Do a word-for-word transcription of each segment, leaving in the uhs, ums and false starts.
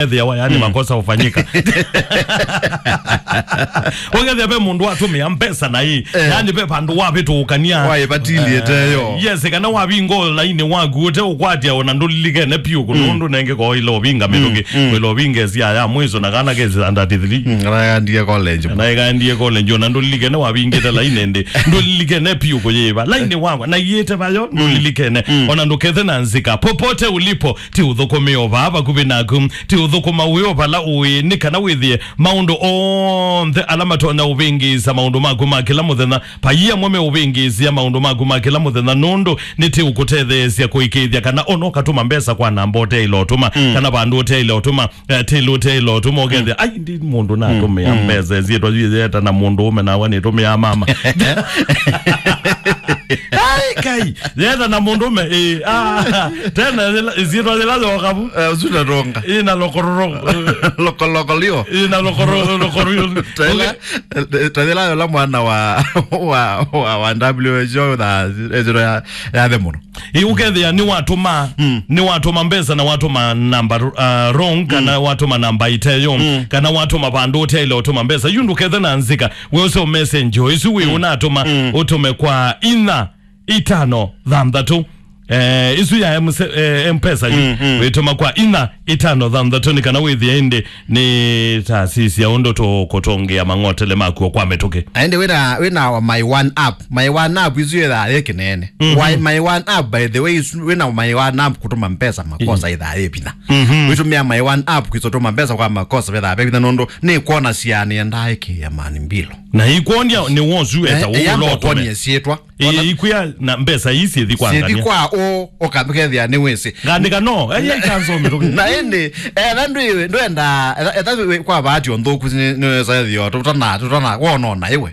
ethĩawa, yani, makosa hufanyika. Ũkethĩa ve mũndũ watũmĩa mbesa na ĩ, yani, ve vandũ wavĩtũũkania. Waĩvatilie teyo. Yes, kana wavinga lainĩ waku ũte ũkwatya ona ndũlilikene piũ kũndũ ũndũ nenge ko ila ũvinga mĩtũkĩ, ila ũvinga ĩsia ya mwiso na kana ke standard three. Mm, kana ĩkaendie college. Na ĩkaendie college, ona ndũlilikene wavingĩte lainĩ ndĩ. Ndũlilikene piũ kũyĩva. Lainĩ wakwa, na iĩte vayo, ndũlilikene. Ona ndũkethe na nzika. Popote ulipo, ti ũthũkũme o vaa vakuvĩ naku. Ti ũthũkũma wĩ o vala ũĩ, nĩ kana wĩthĩe maũndũ onthe ala matonya ũvĩngĩĩsya maũndũ maku ma kĩla mũthenya. Vai amwe meũvĩngĩĩsya maũndũ maku ma kĩla mũthenya, nũndũ nĩtĩũkũtetheesya kũĩkĩĩthya kana ona ũkatũma mbesa kwa namba ũteĩle ũtũma, kana vandũ ũteĩle ũtũma, eh, tĩlĩ ũteĩle ũtũma, ũkethĩa, "Ai, ndi mũndũ natũmĩa mbesa, ĩsyĩtwa yĩyeta na mũndũũme nawa nĩtũmĩaa mama." Ai, kai, yeta na mũndũũme, ĩ, ah, tena yĩla, ĩsyĩtwa yĩla yoka vu. Eh, ũsu ndatonga. Ĩ na lokororo. Lokoloko lio. Ĩ na lokoro-, lokororo. Tela, tela yola mwana wa, wa, wa, wa W H O tha, ĩsyĩtwa ya, ya the mũno. Ĩ, ũkethĩa nĩwatũma, nĩwatũma mbesa na watũma namba, uh, wrong, kana watũma namba iteyo, kana watũma vandũ ũteĩle ũtũma mbesa. Yu ndũkethe na nzika, we ũse message o ĩsu wĩ ũnatũma, ũtũme kwa inya itano thanthatũ. Eh, ĩsu ya M C, eh, M-Pesa yu, wĩtũma kwa inya itano thanthatũ nĩ kana wĩthĩe ĩndĩ nĩ tasisi ya ũndũ tũkũtũngĩa mang'otele makuo kwa mĩtũkĩ. Na ĩndĩ wĩna, wĩna My One app. My One app isu yĩthaa yĩ kĩnene. Why My One app, by the way, isu wĩna My One app kũtũma mbesa makosa ĩthaa yĩ vinya. Wĩtũmĩa My One app kwĩsa ũtũma mbesa kwa makosa vethaa ve vinya nũndũ nĩ kwona siani endaa ĩkĩĩa mani mbilo. Na ikwondia nĩ wosu eta. Eh, ũũ ĩyamba ũtũme. Ũkonie syĩtwa. Ĩĩ, ikwĩa na mbesa ii syĩthi kwa syĩthi ngania. Kwa ũ, ũkakethĩa nĩ wĩsĩ. Ngandĩka no, eye ikanzome tũkĩ. Na ĩndĩ, etha ndwĩ, ndwenda, etha, etha wĩ kwa bahati o nthũku nĩ, nĩ wĩsa ĩthĩo, tũtana, tũtana, wonona ĩwe.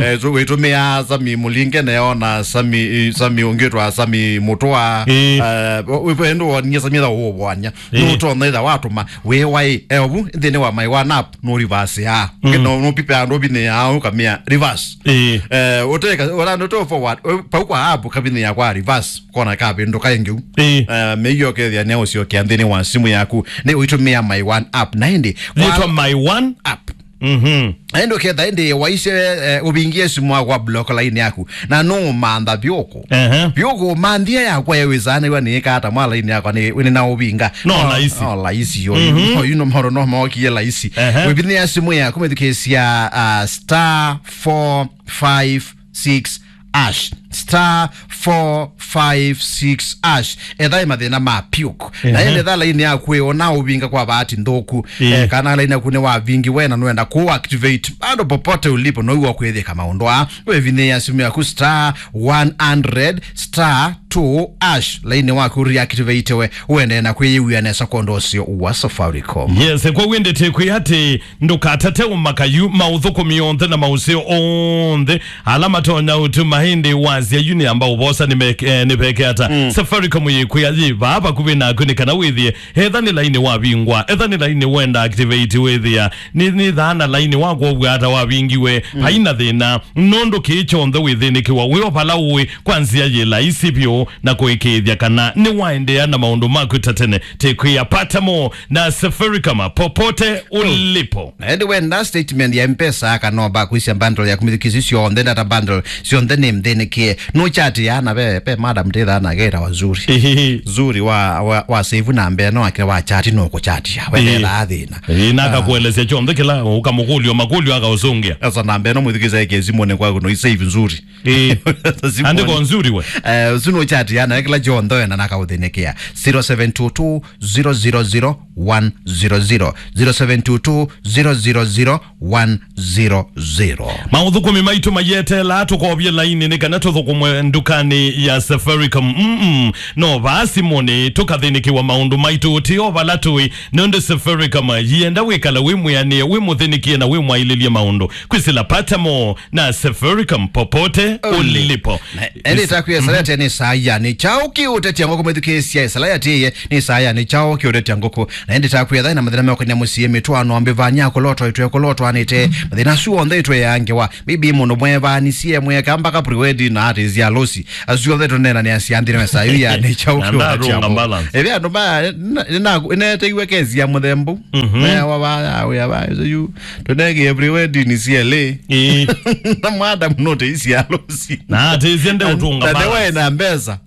Eh, tu-, wĩtũmĩa Sami Mũlinge neona Sami, Sami ũngĩ twa Sami Mũtũa. Ĩĩ. Eh, wĩ, wĩ, ndũ wonie Sami etha ũũvoania. Ĩĩ. Nũtona etha watũma, wĩ waĩ, eovu, nthĩnĩ wa My One app, nũ reverse ya. Mm. No, nũpipe andũ vinĩ ya, ũkamĩa reverse. Ĩĩ. Eh, ũteka, ũla nũto forward, pau kwa app kavinĩ ya kwa reverse. Kona kavĩndũka ĩngĩ u. Ĩĩ. Eh, mĩio kethĩa nĩ ũsyokea nthĩnĩ wa simũ yaku, nĩ ũitũmĩa My One app. Na ĩndĩ, yĩtwa My One app. Mhm. Na ĩndĩ ũketha ĩndĩ waisye, eh, ũvingie simũ yaku wa block line yaku. Na nũũmantha vyũkũ. Ehe. Vyũkũ manthia yakwa yewĩsanĩw'a nĩĩka ata mwa line yakwa nĩ, nĩ na ũvinga. No, no, laisi. No, laisi yo. Mhm. No, you know, maũndũ no mokie laisi. Ehe. Wĩvinĩa simũ yaku mĩthukĩĩsya, uh, star four five six hash, star four five six hash. Etha ĩ mathĩna ma piũk. Na ĩndĩ etha laini yaku ĩona ũvinga kwa bahati nthũku. Ĩĩ. Eh, kana laini yaku nĩ wavingi we na nũenda kũ activate. Bado popote ulipo, no iwa kwĩthĩka maũndũ aa. Wĩvinĩĩa simũ yaku star one hundred star two hash. Laini waku reactivate we. Ũendee na kwĩyĩw'a nesa kwa ũndũ ũseo wa Safaricom. Yes, kwa wĩndĩ tĩkwĩ atĩ ndũkatate ũmaka yu, maũthũkũmi onthe na maũseo onthe ala matonya ũtuma ĩndĩ wasya yu nĩ amba ũvosa nĩ meke-, eh, nĩ veke ata. Mm. Safaricom yĩkwĩa yĩ vaa vakuvĩ naku nĩ kana wĩthĩe. Etha nĩ laini wavingwa, etha nĩ laini wenda activate wĩthĩa. Nĩ, nĩ thaa na laini wakwa ũvw'a ata wavingiwe. Mm. Haina thĩna, nũndũ kĩĩ kyonthe wĩthĩnĩkĩwa wĩ o vala ũĩ kwa nzĩa yĩ laisi vyũ na kũĩkĩĩthya kana nĩ waendeea na maũndũ maku ta tene. Tĩkwĩa pata mo na Safaricom popote ulipo. Na ĩndĩ wenda statement ya M-Pesa kana ũmba kwĩsya bundle ya kumĩthukĩsya syonthe, data bundle syonthe nĩ mthĩnĩkĩe. Nũchatĩaa na ve, ve madam tĩthaa nake etawa Zuri. Ihihi. Zuri wa, wa, wa save namba ĩno akĩla wa chati no kũchatia. Ĩĩ. Wethethaa thĩna. Ĩĩ, na akakuelesya kyonthe kĩla ũkamũkũlyo, makũlyo akaũsũngĩa. Sasa namba ĩno mwĩthukĩsya ĩke simũnĩ kwaku no i save Zuri. Ĩĩ. Simũnĩ. Andĩko Nzuri we. Eh, ũsu nũchatĩaa na kĩla kyonthe wenda na akaũthĩnĩkĩa. Zero seven two two zero zero zero one zero zero, zero seven two two zero zero zero one zero zero. Maũthũkũmi maitũ mayeteela tũkovye laini nĩ kana tũthũkũmwe ndukanĩ ya Safaricom. Mm-mm. No vaa simũnĩ tũkathĩnĩkĩwa maũndũ maitũ tĩ o vala tũĩ, nũndũ Safaricom yĩenda wĩkala wĩ mwĩanĩe, wĩ mũthĩnĩkie na wĩ mwaĩlĩlye maũndũ. Kwĩsĩla pata mo na Safaricom popote ulipo. Na ĩndĩ takwĩa ĩsalati nĩ saa yani chao kĩũtetya ngũkũ mwĩthukĩĩsya ĩsalati ĩye nĩ saa yani chao kĩũtetya ngũkũ. Na ĩndĩ takwĩa thaĩ na mathĩna meũkania mũsyĩ mĩtwaano mbĩvanya kũlotwa itwe kũlotwanĩte mathĩna asu onthe itwe ya ngewa. Bibi mũndũ mwevanisye mweka mpaka pre-wedding na Ati cia losi. Asu othe tũneenanĩa cia nthĩ nĩ saa yu ya nĩ kyaũ. Na kĩũla ndarũnga kyaũ balance. Ĩve andũ ma, na, na, nĩneeteiwe kesi ya mũthemba ũu. Mhm. Mewa va, ya, wĩa va, ĩsu yu. Tũnengie pre-wedding C L A. Ĩĩ. Na madam note cia losi. Na ati cia nde ũtũnga balance. Na ndewe na mbesa.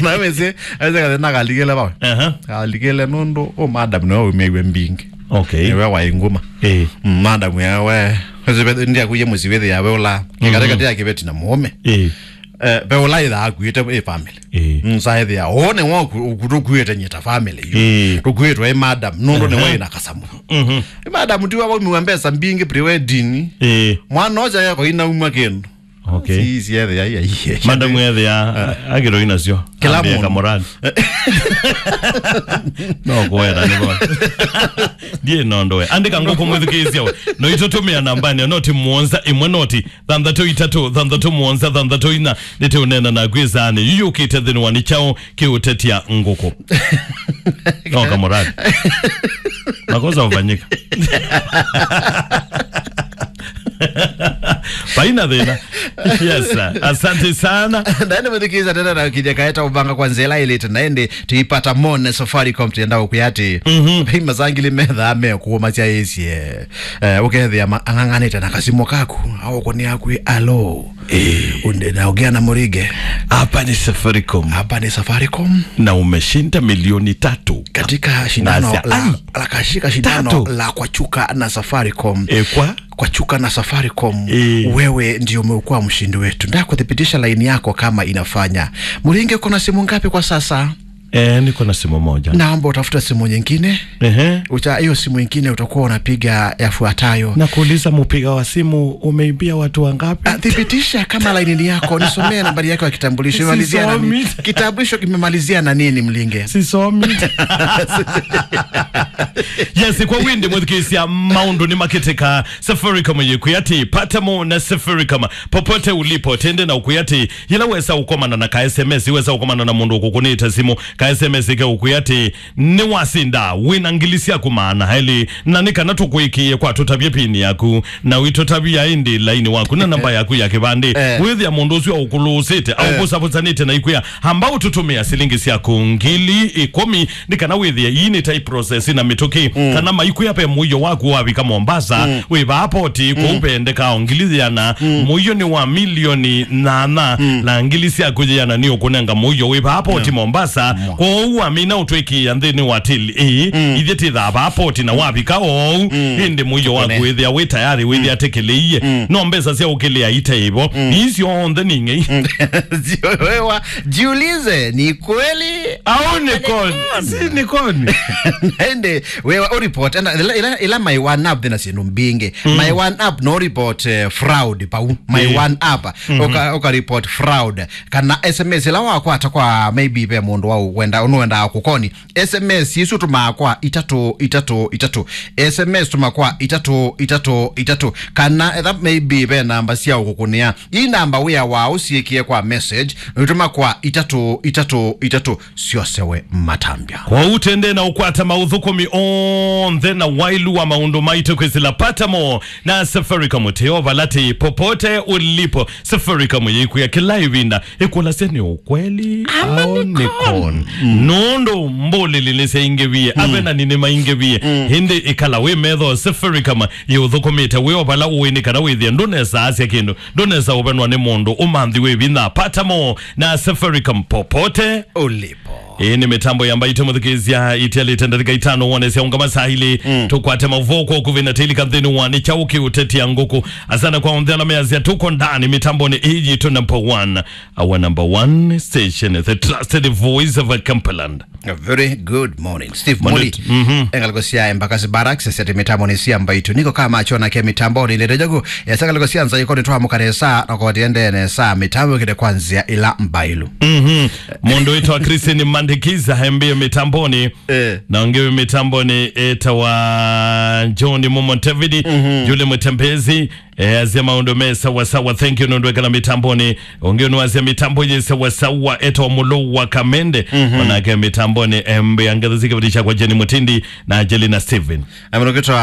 Na wĩsĩ, wĩsĩ kathĩ na kalikĩle vawe. Aha. Kalikĩle nũndũ, ũ madam nĩwe umĩiwe mbingĩ. Okay. Nĩwe waĩ nguma. Ĩĩ. Mm, madam yawe, wĩsĩ, ndiakuye mũsi wĩthĩ yawe ũla. Mhm. Kĩkate kati ya kĩveti na mũũme. Ĩĩ. Eh, ve ũla ĩthaa akuĩte ĩ family. Ĩĩ. Mm, sa ĩthĩa, "Ũũ nĩ wa ũku-, ũku tũkuĩte nyie ta family yu. Ĩĩ. Tũkuĩtwe ĩ madam, nũndũ nĩ Aha. wĩ na kasamũ." Mhm. Ĩ madam tiwa waumiwa mbesa mbingĩ pre-wedding. Ĩĩ. Mwana ũcio yako inauma kĩndũ. Okay. Si, si ĩthĩa, ai, ai. Madam ĩthĩa, akĩroi nacio. Kĩla Ambie mũndũ. Kamorani. No kũweta nĩ bo. Ndiĩ no ndoe. Andĩka ngũkũ mwĩthukĩĩsya we. No itũtũmĩa nambani, noti mũonza ĩmwe noti. Thanthatũ itatũ, thanthatũ mũonza, thanthatũ ina, nĩtũũneena naku ĩsaanĩ. Yu yũkĩte nthĩnĩ wa nĩ kyaũ kĩũtetya ngũkũ. No kamorani. Makosa hufanyika. Vaina thĩna. Yes, sir. Asante sana. Naende mũthikĩĩsya tena na kinya kaeta ũvanga kwa nzĩa ĩla ĩlĩte na ĩndĩ tũipata mone Safaricom tũyenda ũkwĩa atĩ. Mhm. Vai masangili methaa mekũũmasya ĩsye. Eh, ũkethĩa ma-, ang'ang'anĩte na kasimũ kaku, au ũkũnĩa kwĩ, "Alo." Eh. Unde na ũgĩa na mũringe. Hapa ni Safaricom. Hapa ni Safaricom. Na umeshinda milioni tatu. Katika shindano Nasi-, la, ai! La kashika shindano Tatu. La kwachuka na Safaricom. Eh, kwa? Kwachuka na Safaricom. Eh. Wewe ndio umekuwa mshindi wetu. Nda kuthibitisha laini yako kama inafanya. Mũringe, uko na simu ngapi kwa sasa? Eh, niko na simu moja. Naomba utafuta simu nyingine. Ehe. Uta-, hiyo simu nyingine utakuwa unapiga yafuatayo. Na kuuliza mpiga wa simu, umeibia watu wangapi? Ah, thibitisha kama laini ni yako. Nisomee nambari yako ya kitambulisho. Imemalizia na nini? Sisomi. Kitambulisho kimemalizia na nini, Mlinge? Sisomi. Yes, kwa windi mwithikisia maundu ni makiteka. Safaricom yikwia ati, pata mo na Safaricom. Popote ulipo, tende na ukwia ati, yĩla wesa ũkomana na ka S M S, wesa ũkomana na mũndũ ũkũkũnĩte simũ, ka S M S ke ũkwĩa atĩ, "Nĩwasinda, wĩna ngili syaku maana elĩ, na nĩ kana tũkũĩkĩĩe kwa tũtavye pini yaku, na wĩtũtavya ĩndĩ laini waku na namba yaku ya kĩvandĩ." Eh. Wĩthĩa mũndũ ũsu aũkũlũũsĩte, eh, aũvũsavũsanĩte na ikwĩa, "Amba ũtũtũmĩa silingi syaku ngili ĩkũmi, nĩ kana wĩthĩe ii nĩ ta process na mĩtũkĩ, mm, kana maikwĩa ve mũio waku wavika Mombasa, mm, wĩ vaa poti, kũu, mm, vendekaa o ngili yĩana, mm, mũio nĩ wa milioni nyanya, mm, na ngili syaku yĩana nĩ ũkũnenga mũio wĩ vaa poti, yeah, Mombasa." Mwa. Kwoou wamina ũtwĩkĩĩa nthĩnĩ wa tili ĩĩ, mm, ithyĩ tĩthaa vaa poti na wavika oou, mm, ĩndĩ mũio waku, tũkũne, wĩthĩa wĩ tayarĩ, wĩthĩa, mm, atĩkĩlĩie. Mm. No mbesa sya ũkĩlĩa ite ĩvo. Mm. Ii syonthe nĩ ng'ei. Mm. Wewa, jiulize, ni kweli? Au ni con? Si ni con? Ende, wewa, u report, enda, ila, ila, ila my one up thina syĩndũ mbingĩ. Mm. My one up no report, eh, fraud pau. My, mm, one up. Mm-hmm. Uka, uka report fraud. Kana S M S ila wakwata kwa maybe ve mũndũ wa wenda, ũnũendaa kũkoni. S M S isu tũmaa kwa itatũ itatũ itatũ. S M S tũma kwa itatũ itatũ itatũ. Kana etha maybe ve namba sya ũkũkũnĩa. Ii namba wĩa wa ũsiĩkĩe kwa message, nũitũma kwa itatũ itatũ itatũ. Syose we matambya. Kwoou tende na ũkwata maũthũkũmi onthe na wailu wa maũndũ maitũ kwĩsĩla pata mo na Safaricom. Teo valati popote ulipo. Safaricom yĩkwĩa kĩla ĩvinda, ĩkũlasya nĩ ũkweli au nĩ con. Mm. Nũndũ mbũlĩli nĩsyaingĩvie, mm, avenani nĩmaingĩvie. Mm. Ĩndĩ ĩkala wĩ metho, Safaricom yĩũthũkũmĩte wĩ o vala ũĩ, nĩ kana wĩthĩe ndũnesa asya kĩndũ, ndũnesa ũvenwa nĩ mũndũ ũmanthi wĩ vinya. Pata mo na Safaricom popote ulipo. Ĩĩ nĩ mĩtambo ya Mbaitũ mũthikĩĩsya, itialĩte ndatĩka itano wone sya ũngama saa ilĩ. Mm. Tũkwate mavoko kũvĩ na tĩlika nthĩnĩ wa nĩ kyaũ kĩũtetia ngũkũ. Asana kwa onthe ala measya tũko ndani mĩtambonĩ ĩĩ yitũ number one. Our number one station, the trusted voice of Cumberland. A very good morning, Steve Muli. Mhm. Engaliko sya Embakasi Barracks, sete mĩtambonĩ sya Mbaitũ. Niko kama achona ke mĩtambonĩ, lete jogo, ya sangaliko sya nza yiko nĩ twamuka nesa, na kwa tiende nesa, mĩtambo kĩte kwa nzĩa ila mbailu. Mhm. Mũndũ wĩtwa Christine Ndikiza hembe mitamboni. Eh. Na ũngĩ wĩ mitamboni etawa John Momo David, Mhm. Julie Mutembezi, eh, azia maũndũ me sawa sawa. Thank you, nũndũ ekala mitamboni. Ũngĩ ũnũ azia mitambo yĩ sawa sawa, etawa Mũlũ wa Kamende. Mhm. Onake mitamboni, embe angetha zikivadisha kwa Jenny Mutindi na Angelina Steven. Amũrũkĩtwa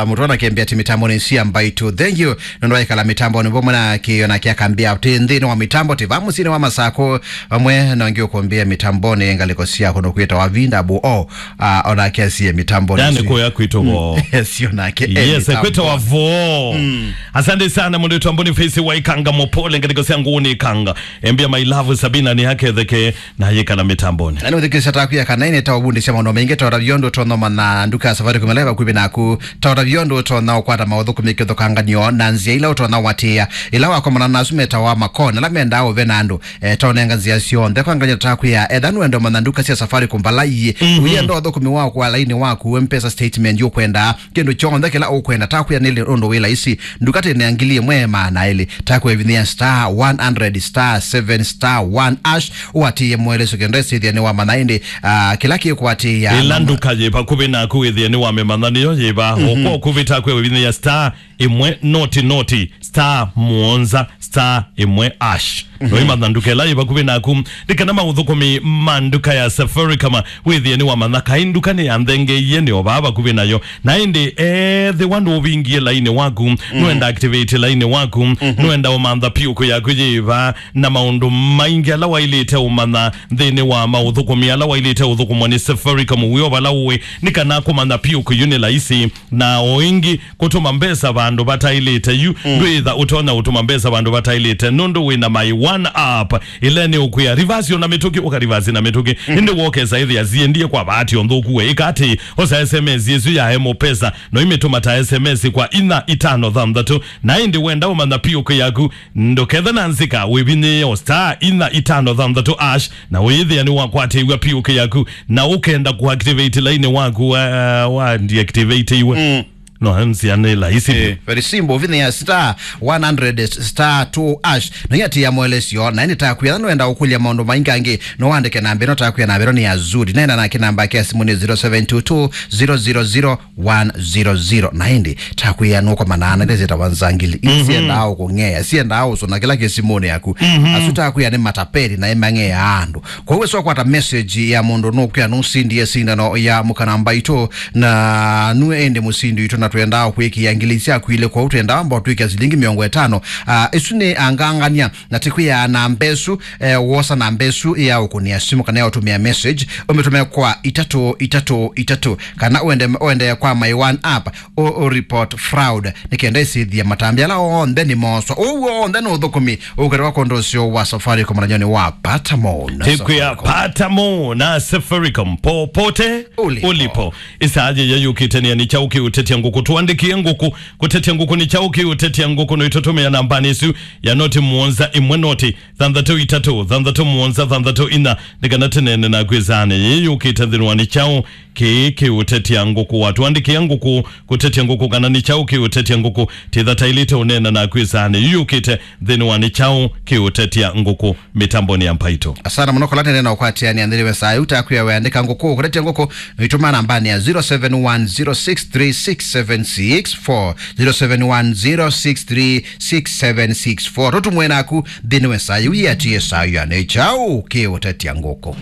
mũtwana kĩambĩa ti mitamboni cia Mbaitu. Thank you. Nũndũ aikala mitamboni vamwe na kĩona kĩa kambĩa ti nthĩnĩ wa mitambo ti va mũsyĩnĩ wa Masakũ. Vamwe na ũngĩ ũkũmbĩa mitamboni ngalĩko sya kũndũ kwĩtawa Vinda bu o. Ah, onake asie mitamboni. Yani kuya kwitũ vo. Yes, onake e Yes, mitamboni. Kwitũ vo. Mm. Asante sana, mũndũ witũ Boniface wa Ikanga Mopole, ngalĩko sya Ngũni Ikanga. Embia my love Sabina nĩ aketheke na yĩkala mitamboni. Na nĩ ũthikĩsya taku ya kana ĩnĩ ta ũvundĩsya maũndũ maingĩ ta ũtavyo ũndũ ũtonya ũmanya nduka ya Safaricom ĩla ĩ vakuvĩ naku, ta ũtavyo ũndũ ũtonya ũkwata maũthũkũmi kĩthũkanganio na nzĩa ila ũtonya ũatĩĩa ĩla wakomana na asu metawa makoni ala mendaa ũve na andũ, eh, ta ũnenga nzĩa syonthe kwa nganyo taku ya etha nũenda ũmanya nduka sya Safaricom vala iĩ. Mhm. Ũyenda ũthũkũmi wa kwa laini waku, M-Pesa statement yũkwenda, kĩndũ kyonthe kĩla ũkwenda, takwĩa nĩ ũndũ wĩ laisi. Nduka tene ya ngili ĩmwe maana elĩ, takwĩa vinyĩa star one hundred star seven star one hash, ũatĩĩe mũeleso kenda ĩsĩthĩa nĩ wamanya ĩndĩ, ah, kĩla kĩkwatĩĩa ĩla nduka yĩ vakuvĩ naku wĩthĩe nĩ wamĩmanya nĩyo yĩva. Mhm. Oko kuvĩ takwĩa vinyĩa star ĩmwe noti noti star mũonza star ĩmwe hash. Mhm. Noimanya nduka ĩla yĩ vakuvĩ naku. Nĩ kana maũthũkũmi ma nduka ya Safaricom wĩthĩe nĩ wamanya kaĩ nduka nĩ ya nthenge iye nĩ o vaa vakuvĩ nayo. Na ĩndĩ ethĩwa ndũvingie laini waku, mhm, nũenda activate laini waku, mhm, nũenda ũmantha PUK yaku yĩva na maũndũ maingĩ ala wailĩte ũmanya nthĩnĩ wa maũthũkũmi ala wailĩte ũthũkũmwa nĩ Safaricom wĩ o vala ũĩ, nĩ kana kũmantha PUK yu nĩ laisi. Na o ĩngĩ, kũtũma mbesa vandũ vataĩlĩte yu, mm, ndwĩtha ũtonya ũtũma mbesa vandũ vataĩlĩte nũndũ wĩ na My One app. Ĩla nĩ ũkwĩa reverse ona mĩtũkĩ, ũka reverse na mĩtũkĩ. Mm. Ĩndĩ wokesa ĩthĩa ziendie kwa bahati o nthũku we. Ĩka atĩ, osa S M S ĩsu ya M-Pesa, no imĩtũma ta S M S kwa inya itano thanthatũ. Na ĩndĩ wenda ũmanya PUK yaku, ndũkethe na nzika, wĩvinyĩĩe o star inya itano thanthatũ hash, na ũyĩthĩa nĩ wakwatĩĩw'a PUK yaku, na ũkenda kũactivate laini waku wa, wa deactivate-iwe. Mm. No, nzĩa nĩ laisi. Eh, very simple. Ũvinyĩĩa star one hundred star two hash. Na iatĩĩa moelesyo, na ĩndĩ takwĩa nũenda ũkũlya maũndũ maingĩ angĩ, no wandĩke namba ĩno, takwĩa namba ĩno nĩ ya Zuri. Neena nake namba yake ya simũ nĩ zero seven two two zero zero zero one zero zero. Na ĩndĩ takwĩa nũkomana na ĩla syĩtawa nzangili. Mhm. Siendaa ũkũng'ea, siendaa ũsũna kĩla kĩ simũnĩ yaku. Mhm. Asu takwĩa nĩ matapeli na ĩmang'ea andũ. Kwoou wĩsa ũkwata message ya mũndũ nũkwĩa nũsindie sindano ya mũkana mbaitũ, na nue ĩndĩ mũsindi witũ, na twendaa kwĩkĩa ngili syaku ilĩ, kwoou twendaa amba ũtwĩkĩa silingi mĩongo ĩtano. Ah, ĩsu nĩ angangania, na tikwĩa namba ĩsu, eh, wosa namba ĩsu ya ũkũnĩa simũ kana ya ũtũmĩa message, ũmĩtũme kwa itatũ itatũ itatũ, kana ũende, ũende kwa My One app, ũ, ũ report fraud, nĩ kenda ĩsĩthie matambya ala onthe nĩ moswa. Ũu onthe nĩ ũthũkũmi ũkĩrĩwa kũndũ ũsyo wa Safaricom na nyoni wa Patamo na Tikwĩa Safaricom. Patamo na Safaricom, popote ulipo. Ulipo. Ĩsaa yĩya yũkĩte nĩ kyaũ kĩũtetya ngũkũ? Tũandĩkĩe ngũkũ. Kũtetya ngũkũ nĩ kyaũ kĩũtetya ngũkũ? No itũtũmĩa nambanĩ ĩsu ya noti mũonza ĩmwe noti thanthatũ itatũ thanthatũ mũonza thanthatũ inya, nĩ kana tũneene naku ĩsaanĩ yĩĩ yũkĩte nthĩnĩ wa nĩ kyaũ kĩĩ kĩũtetya ngũkũ. Watũandĩkĩa ngũkũ kũtetya ngũkũ kana nĩ kyaũ kĩũtetya ngũkũ, tĩtha taĩlĩte ũneena naku ĩsaanĩ yĩĩ yũkĩte nthĩnĩ wa nĩ kyaũ kĩũtetya ngũkũ mĩtambonĩ ya Mbaitũ. Asana mũno kola nene na ũkwatĩanĩa nthĩnĩ wa ĩsaa yĩĩ. Takwĩa weandĩka ngũkũ kũtetya ngũkũ, no itũma nambanĩ ya zero seven one zero six three six seven six four, zero seven one zero six three six seven six four. Tũtũmwe naku nthĩnĩ wa ĩsaa yĩĩ, ũiatĩĩe ĩsaa ya nĩ kyaũ kĩũtetya ngũkũ.